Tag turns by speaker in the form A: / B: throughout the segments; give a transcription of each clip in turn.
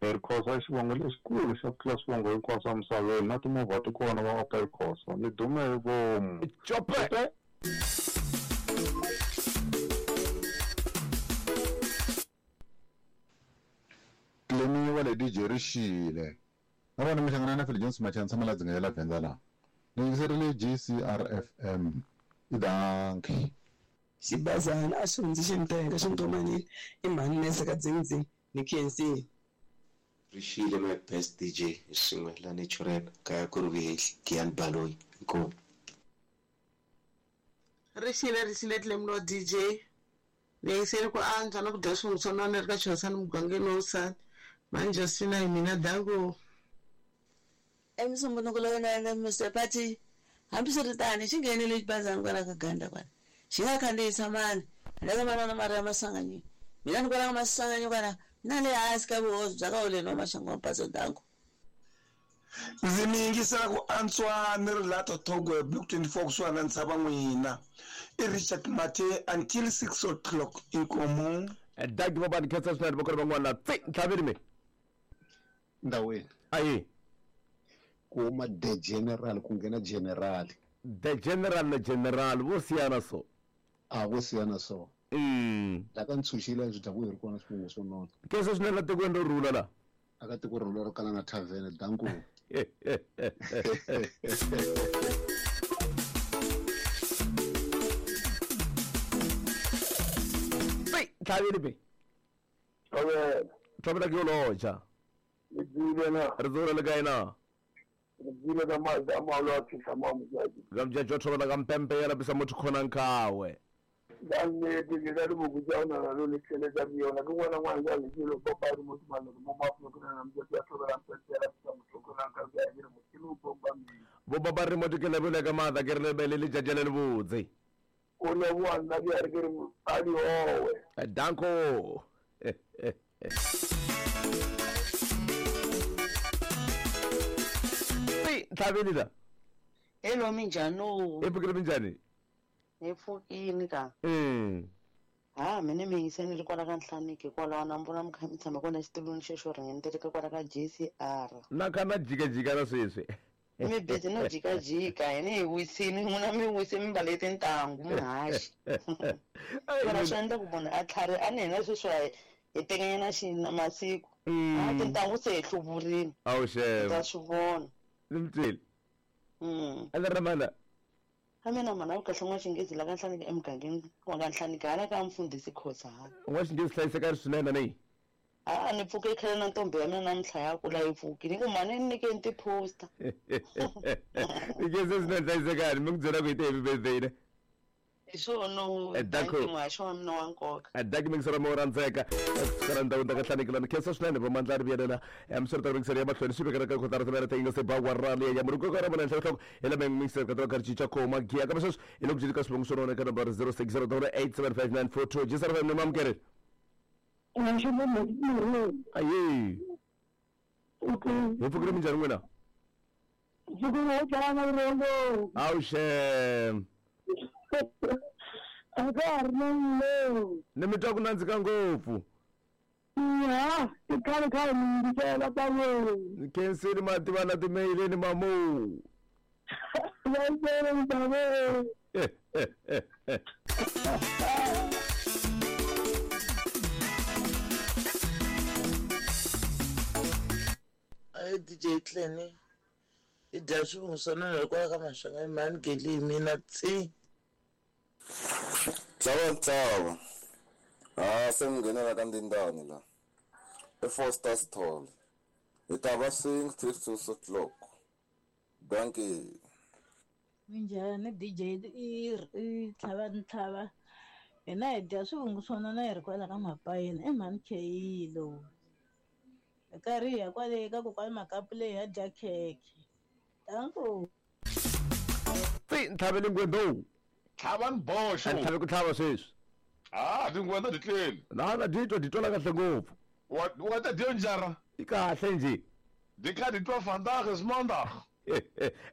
A: Hi Khosa i xivongo lexikulu xa ku tlula swivongo hinkwaswo emisaveni na timovha ti kona va Opel Khosa ni dume hi vomu.
B: Cope.
C: Tlemiwa le DJ Rixile. Na vona mi hlangana na Phil Jones Machana tshama la dzinga ya la Venda la. Ni yingiserile GCRFM. I dankie.
D: Xibazana a xi hundzi xi ni teka xi ni tomanile i mhani nese ka dzingdzing ni khensile.
E: Rixile my best DJ hi swin'we la natural kaya kuri vuhehli Giyani Baloyi inkomu.
F: Rixile rixile Clemlo DJ ni yingiseli ku antswa na ku dya swin'we swa nona ni ri ka Chosani mugangeni wa Usani mhani Justina hi mina danko.
G: Emusumbunuko lowu nga endla Mister Party. Hambiswiritano, xi nghenile xibazana kwala ka Ganda kwala. Xi nga khandziyisa mani, handle ka manana Maria Maswanganyi. Mina ni kwala ka Maswanganyi kwala, na le hansi ka vuhosi bya ka Holeni wa Maxangu wa Mpadzo Danko.
H: Ndzi mi yingisela ku antswa ni ri la Totogo Block 24 kusuhani na ntshava n'wina. I Richard Mathe until 6 o'clock inkomu.
B: Dagi va ni khensa swinene voko ri van'wana tsi ntlhaveni mi.
I: Ndawini.
B: Ayi.
I: Ku huma the general ku nghena general.
B: The general na general vo siyana so.
I: A vo siyana so. La ka ntshunxile byi dya ku hi ri kona swivongo swo nona.
B: Khensa swinene la tikweni ro rhula la.
I: Aka tiko ro rhula ro kala na tavern danko.
B: Ntlhaveni be.
J: Thobela.
B: Thobela ke yo loja.
J: Re tsile na.
B: Re tsile le kae na?
J: Re tsile ka mazi a maholo a fihla mo mojadi.
B: Ka mojadi wa thobela ka mpempe ya lapisa motho khonang khawe.
J: Ka nnete ke ka diboko tša go nana le letlhele tša yona ke ngwana ngwana jale ke lo kopa re motho mane mo mafulo ke nana mojadi wa thobela mpempe ya lapisa motho khonang ka ke re motho lo bomba mme.
B: Bo ba ba re motho ke lebele ka matla ke re lebele le tšatši le lebotse.
J: O leboa nna ke re ke re a di owe.
B: Danko. Ntlhaveni la.
K: Hello minjhani?
B: Hi pfukile minjhani?
K: Hi pfukile ka. Ha mina mi yingiseni ri kwala ka Nhlaniki kwalaho na vona mi kha mi tshama kona xitulwini xexo ringenteleka kwala ka JCR.
B: Na kha na jikajika na sweswi.
K: Mi busy no jikajika hina hi wisini n'wina mi wise mi mbale tintangu mi haxi. Mara swi endla ku munhu a tlhari a ni hina sweswi hi tekanyana xina masiku. A tintangu se hi hluvurile.
B: Awu xem.
K: Ta swi vona.
B: Ni mi twile. A ni ri mana.
K: A mina mhana ku kahle n'wa-Xinghezi la ka Nhlaniki emugangeni wa ka Nhlaniki hala ka mfundhisi Khosa hala.
B: N'wa-Xinghezi hlayiseka swinene ni.
K: A ni pfuke khale na ntombi ya mina namuntlha ya kula yi pfukile ni ku mhani ni nyikeni ti-poster.
B: Ni khensa swinene hlayisekani mi ku byela ku hi te happy birthday ne.
K: Hi swona
B: Danko.
K: thank you muhaxi wa mina wa nkoka.
B: Danki mingisero mo rhandzeka kusukela ndhawini ta ka Nhlaniki lani khensa swinene vo mandla ri vuyelela misero ta mingisero ya mahlweni swi vekela ka kotara timere ta yinga se ba wa ra leya muri nkoka ra vona henhla nhloko hi la mingisero ka ka cinca khoma giya kambe sweswi hi le ku cinca ka swivongo swo nona ka number 06087594 G75 ni mamukeri. Ayi. Hi pfukile minjhani n'wina? Awu xem.
L: A ka ha ri na mlewu.
B: Ni mi twa ku nandzika ngopfu.
L: Ya, i khale khale mi yingisela tanihi.
B: Ni khensile mativa na timeyileni mamu.
L: Vayisele mdaveni.
M: Ayi DJ Clenny. I dya swivungu swa nona hikwalaho ka Maswanganyi mhani Geli hi mina tsi.
N: Tlhava ntshava. Ha se mi nghenela ka ndindani la. E Foster Stall. Hi ta va swing till 2 o'clock. Dankie.
O: Minjhani DJ i tlhava ntlhava. Hina hi dya swivungu swa nona hi ri kwala ka Mapayeni i mhani Kheyi lowu. Hi karhi hi ya kwale ka kokwani Makapu leyi ya dya khekhe. Danko.
B: Tsi ntlhavele ngwendo.
P: Tlhava boxo.
B: Ntlhave ku tlhava sweswi.
P: Ah, tingwenda ti tleli.
B: Na na di twa di twala kahle ngopfu.
P: Wa ta dyo njara.
B: I kahle nje.
P: Di kha di twa vandag is maandag.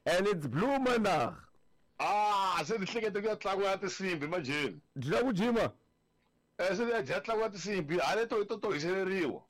B: And it's blue maandag.
P: Ah, se di hlekete ku ya tlangu ya tinsimbi manjheni.
B: Dyi la ku jima?
P: Se di ya dya tlangu ya tinsimbi, hale to to to hiseleriwa.